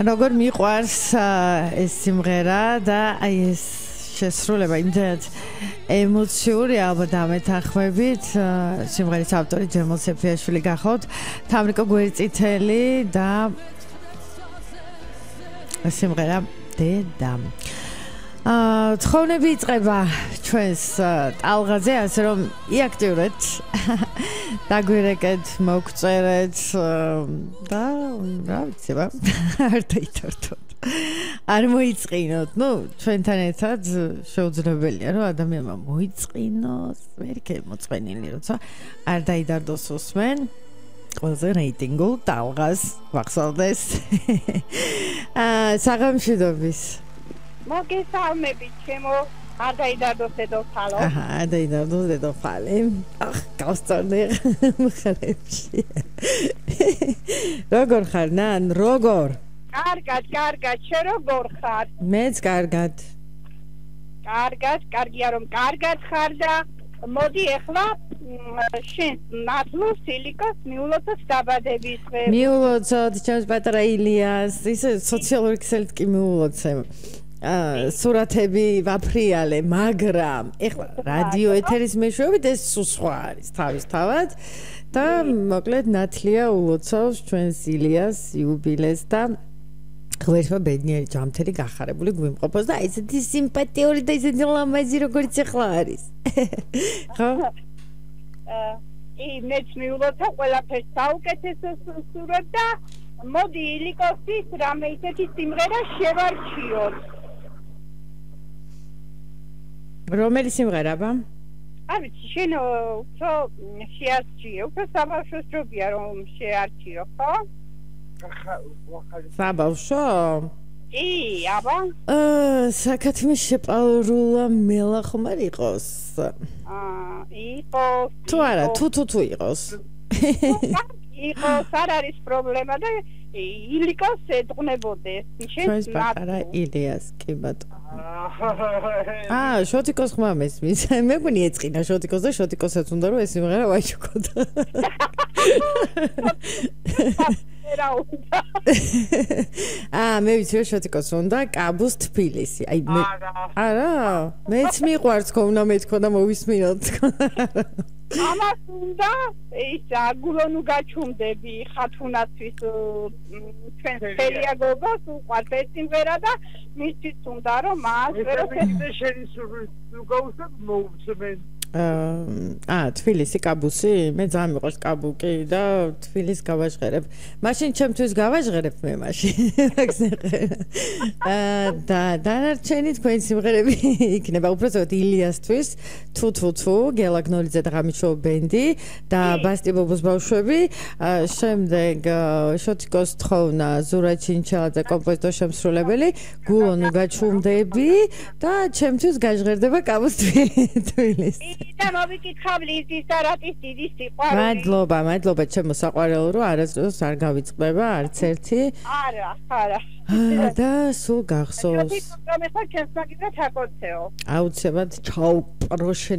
როგორ მიყვარს ეს სიმღერა და აი ეს შესრულება იმდენად ემოციური ალბათ ამეთანხმებით სიმღერის ავტორი ჯემალ სეფიაშვილი გახავთ თამრიკო გვერდწითელი და სიმღერა დედა თხოვნები იწყება ჩვენს ტალღაზე ასე რომ იაქტიურეთ დაგვირეკეთ მოგწერეთ და რა ვიცი არ დაითართოთ არ მოიწყინოთ ჩვენთან ერთად შეუძლებელია რომ ადამიანმა მოიწყინოს მერქე მოწყენილი როცა არ დაიდარდოს უსმენ ყველაზე რეიტინგულ ტალღას ვახსოვდეს საღამშვიდობის მოგესალმებით ჩემო არ დაიდარდოს დედოფალო არ დაიდარდოს დედოფალი გავსწორდი მხარეებში როგორ ხარ ნან როგორ კარგად შე როგორ ხარ მეც კარგად კარგია რომ კარგად ხარ და მოდი ახლა შენ ნათლუს ილიკოს მიულოცოთ დაბადების დღე მიულოცოთ ჩემს პატარა ილიას ისე სოციალური ქსელით კი მიულოცე სურათები ვაფრიალე მაგრამ ეხლა რადიო ეთერის მეშვეობით ეს სხვა არის თავისთავად და მოკლედ ნათლია ულოცავს ჩვენს ილიას იუბილეს და ღმერთმა ბედნიერი ჯამთელი გახარებული გვიმყოფოს და ესეთი სიმპათიური და ესეთი ლამაზი როგორც ახლა არის ხო მეც მიულოცა ყველაფერს საუკეთესო სურვებ და მოდი ილიკოსის რამე ისეთი სიმღერა შევარჩიოთ რომელი სიმღერა ბა? არ ვიცი შენ უფრო შეარჩიე უფრო საბავშვოს ჯობია რომ შეარჩიო ხო? საბავშვო? აბა საკათმე შეპარულა მელა ხომ არ იყოს? იყოს თუ არა თუ იყოს იყოს არ არის პრობლემა და ილიკოს ეთყნებოდეს ჩვენს პატარა ილიას კი ბატონო შოტიკოს ხმა მესმის მე მგონი ეწყინა შოტიკოს და შოტიკოსაც უნდა რომ ეს სიმღერა ვაჩუქოთ მე ვიცი რომ შოტიკოს უნდა კაბუს თბილისი აი მე არა მეც მიყვარს ხო უნდა მეთქო და მოვისმინოთ ამას უნდა ის აგულონუ გაჩუმდები ხათუნათვის ჩვენს ფერიაგობას უყვართ ეს სიმღერა და მისთვის უნდა რომ მას შენი სურვილს მოუწმენ თბილისი კაბუსი მე ძალიან მიყვარს კაბუკი და თბილისს გავაჟღერებ მაშინ ჩემთვის გავაჟღერებ მე მაშინ და დანარჩენი თქვენი სიმღერები იქნება უბრალოდ ილიასთვის თუ გელაგნოლიძე და ღამიშოუ ბენდი და ბასტი ბობოს ბავშვები შემდეგ შოტიკოს თხოვნა ზურა ჩინჩალაძე კომპოზიტორ შემსრულებელი გულონუ გაჩუმდები და ჩემთვის გაჟღერდება კაბუს თბილისი და მოვიკითხავ ლიზის და რატის დიდი სიყვარული მადლობა ჩემო საყვარელო რომ არასდროს არ გავიწყდება არც ერთი არა და სულ გახსოვს რომ ეხლა ჩემს მაგივრად აკოცეო აუცილებლად ჩაუპროშე